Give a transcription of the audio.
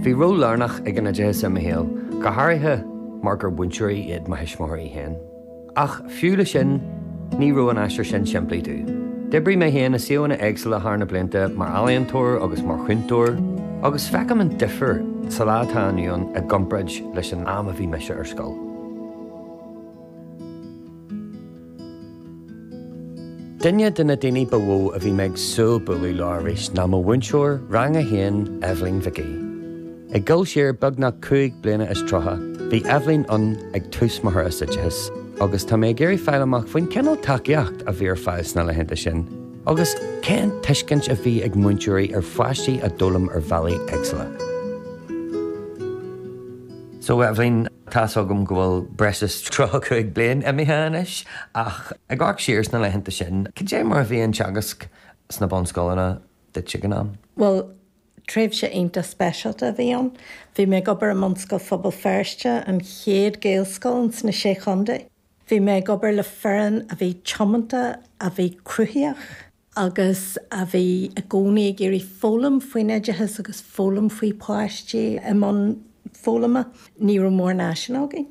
Bhí ról lárnach ag an oideachas i mo shaol, go háirithe mar gur mhúinteoirí iad mo thuismitheoirí féin. Ach fiú le sin, ní raibh an aistear sin simplí domh. D'oibrigh mé féin i suíomhanna éagsúla thar na blianta mar ealaíontóir agus mar chúntóir, agus feicim an difear sa lá atá inniu ann i gcomparáid leis an am a bhí mise ar scoil. Duine de na daoine ba mhó a bhí mé ag súil bualadh leo arís ná mo mhúinteoir Rang 1, Eibhlín Mhic Aoidh. Ag dul siar beagnach 35 bliana, bhí Eibhlín ann ag tús mo thuras oideachais agus tá mé ag iarraidh fáil amach faoin cineál tacaíocht a bhí ar fáil sna laethanta sin agus cén tuiscint a bhí ag múinteoirí ar pháistí a d'fhoghlaim ar bhealaí éagsúla. So Eibhlín, tá's agam go bhfuil breis is 35 bliain imithe anois, ach ag amharc siar sna laethanta sin, cad é mar a bhí an teagasc sna bunscoileanna duit ag an am? Bhuel, tréimhse iontach speisialta a bhí ann. Bhí mé ag obair i mBunscoil Phobal Feirste, an chéad Ghaelscoil ins na Sé Chontae. Bhí mé ag obair le foireann a bhí tiomanta, a bhí cruthaíoch agus a bhí i gcónaí ag iarraidh foghlaim faoin oideachas agus foghlaim faoi pháistí i mbun foghlama. Ní raibh mórán áiseanna againn.